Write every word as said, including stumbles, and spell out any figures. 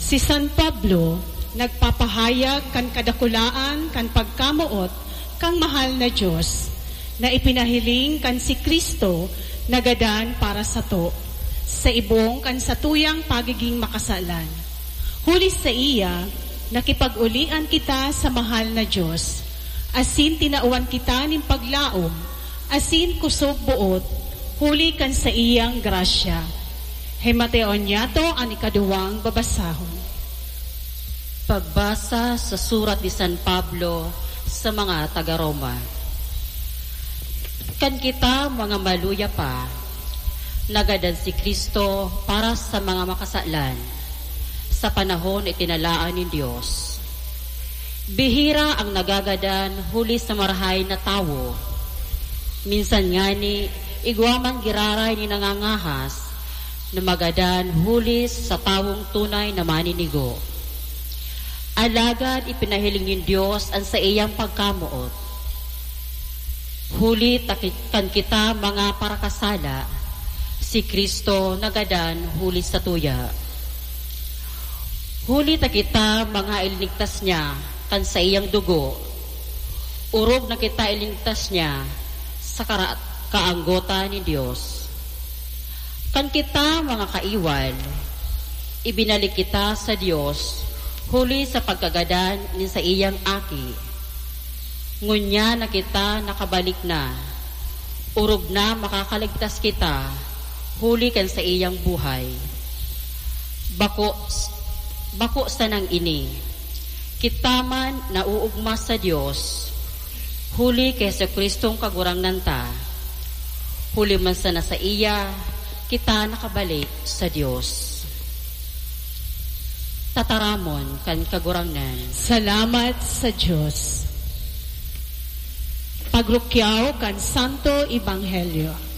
Si San Pablo nagpapahayag kan kadakulaan kan pagkamoot kan mahal na Dios, na ipinahiling kan si Cristo na gadan para sato, sa ibong kan satuyang pagiging makasalan. Huli saiya, nakipag-ulian kita sa mahal na Dios, asin tinawan kita nin paglaom asin kusog boot huli kan saiyang grasya. Himateon niyato an ikaduwang babasahon. Pagbasa sa surat ni San Pablo sa mga taga-Roma. Kan kita mga maluya pa, nagadan si Cristo para sa mga makasalan sa panahon na itinalaan nin Dios. Bihira ang nagagadan huli sa marahay na tawo. Minsan ngani, igwa man giraray ni nangangahas na magadan huli sa tawong tunay na maninigo. Alagad ipinahiling nin Dios an saiyang pagkamoot. Huli ta ki-, kan kita mga parakasala, si Cristo nagadan huli sa tuya. Huli ta kita mga ilinigtas niya kan saiyang dugo, orog na kita ilinigtas niya sa kara-, kaanggotan nin Dios. Kan kita mga kaiwal, ibinalik kita sa Dios huli sa pagkagadan nin saiyang Aki. Ngunyan na kita nakabalik na, orog na makakaligtas kita huli kan saiyang buhay. Bako, bako sanang ini. Kita man naoogma sa Dios, huli ki Jesu-Cristong Kagurangnan ta. Huli man sana saiya, kita nakabalik sa Dios. Tataramon kan Kagurangnan. Salamat sa Dios. Pagrukyaw kan Santo Ebanghelyo.